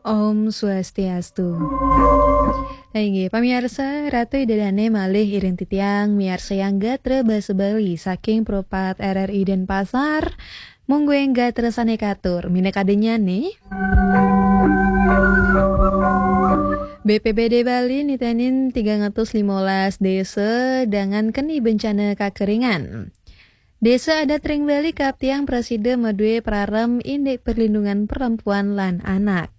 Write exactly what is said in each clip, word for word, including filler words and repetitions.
Om Swastiastu. Inggih, pamiarsa, Ratu Ida Dane malih iring titiang miarsayang gatra basa Bali saking Pro empat R R I Denpasar, mungguing gatra sane katur, minakadinnyane, B P B D Bali nitenin tigang atus limolas desa dangan keni bencana kakeringan. Desa adat ring Bali kaptiang prasida madue prarem indik perlindungan perempuan lan anak.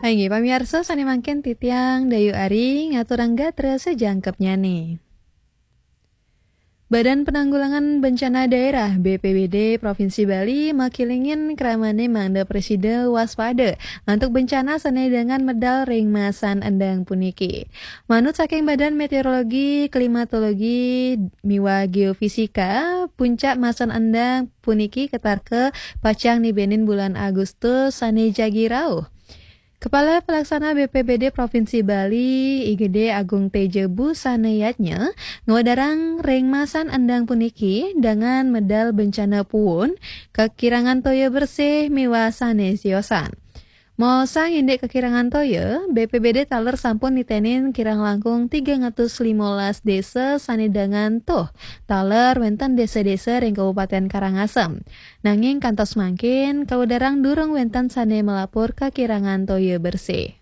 Inggih, pamiarsa sane mangkin titiang Dayu Ari ngaturang gatra sajangkepnyane. Badan Penanggulangan Bencana Daerah, B P B D, Provinsi Bali makilingin kramane mangda prasida waspada antuk bencana sane dangan medal ring masan endang puniki. Manut saking Badan Meteorologi, Klimatologi, miwah Geofisika, puncak masan endang puniki ketarka pacang nibenin bulan Agustus sane jagi rauh. Kepala Pelaksana B P B D Provinsi Bali, I G D Agung Teja Busana Yatnya, ngwedarang ring masan endang puniki dangan medal bencana puun, kakirangan toya bersih miwah sane siosan. Maosang indik kakirangan toya, B P B D taler sampun nitenin kirang langkung tigang atus limolas desa sane dangan tuh taler wenten desa-desa ring Kabupaten Karangasem. Nanging kantos mangkin, kawedarang durung wenten sane melapor kakirangan toya bersih.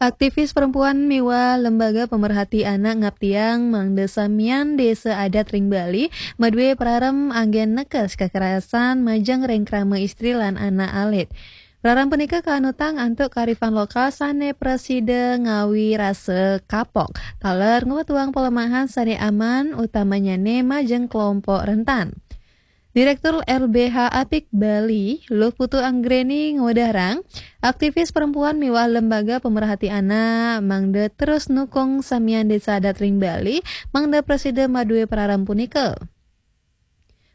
Aktivis perempuan miwah lembaga pemerhati anak ngaptiang mangda samian desa adat ring Bali madue prarem anggen nekes kekerasan majeng ring krama istri lan anak alit. Prarem punika kaanutang antuk karifan lokal sane prasida ngawi rasa kapok, taler ngwetuang pelemahan sane aman, utamanyane majeng kelompok rentan. Direktur L B H Apik Bali, Luh Putu Anggreni ngwedarang, aktivis perempuan miwah lembaga pemerhati anak mangda terus nukung samian desa adat ring Bali, mangda prasida madue prarem punika.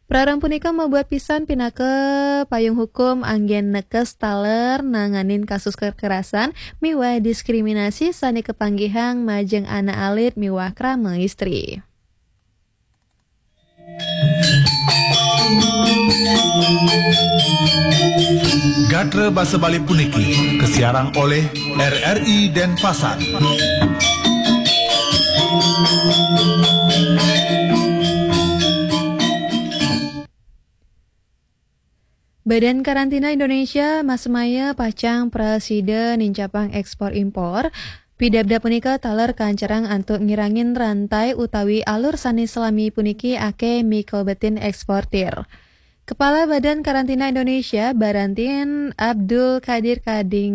Prarem punika mabuat pisan pinaka payung hukum anggen nekes taler nanganin kasus kekerasan miwah diskriminasi sane kapanggihang majeng anak alit miwah krama istri. Gatra basa Bali puniki kasiarang oleh R R I Denpasar. Badan Karantina Indonesia masemaya pacang prasida nincapang ekspor impor. Pidabdab punika taler kancerang antuk ngirangin rantai utawi alur sane selami puniki akeh mikobetin eksportir. Kepala Badan Karantina Indonesia, Barantin Abdul Kadir Kading,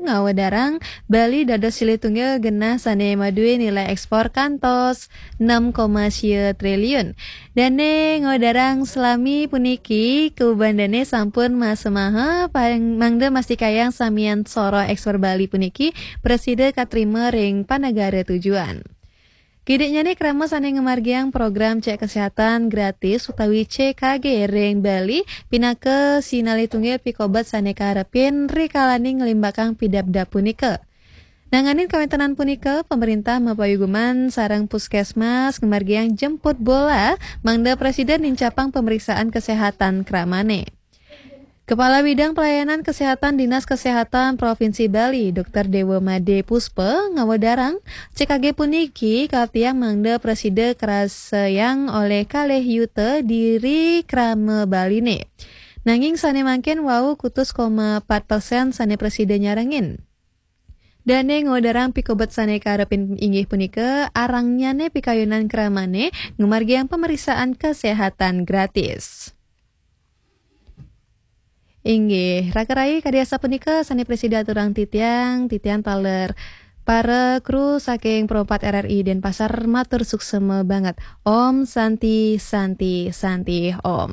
ngawedarang Bali dados silih tunggal genah sane madue nilai ekspor kantos enam koma sia triliun. Dane ngawedarang selami puniki, kubandane sampun masemaha pang-, mangda mastikayang samian soroh ekspor Bali puniki prasida katrima ring panegara tujuan. Kidiknyane krama sane ngamargiang program cek kesehatan gratis utawi C K G ring Bali pinaka sinalih tunggil pikobet sane karepin rikalaning nglimbakang pidabdab punika. Nanganin kawentenan punika, pemerintah mapayuguman sareng puskesmas ngamargiang jemput bola mangda prasida nincapang pemeriksaan kesehatan kramane. Kepala Bidang Pelayanan Kesehatan Dinas Kesehatan Provinsi Bali, Doktor Dewa Made Puspa, ngawedarang, C K G puniki katiang mangda prasida karasayang oleh kalih yuta diri krama Baline. Nanging sane mangkin wau kutus koma empat persen sane prasida nyarengin. Dane ngawedarang pikobet sane karepin inggih punika, arangnyane pikayunan kramane ngamargiang pemeriksaan kesehatan gratis. Inggih, raka rai kadi asapunika sane prasida aturang titiang, titiang taler para kru saking Pro empat R R I Denpasar matur suksema banget. Om Santi, Santi, Santi, Om.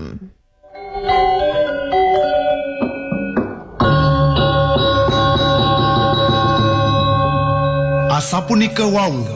Asapunika wau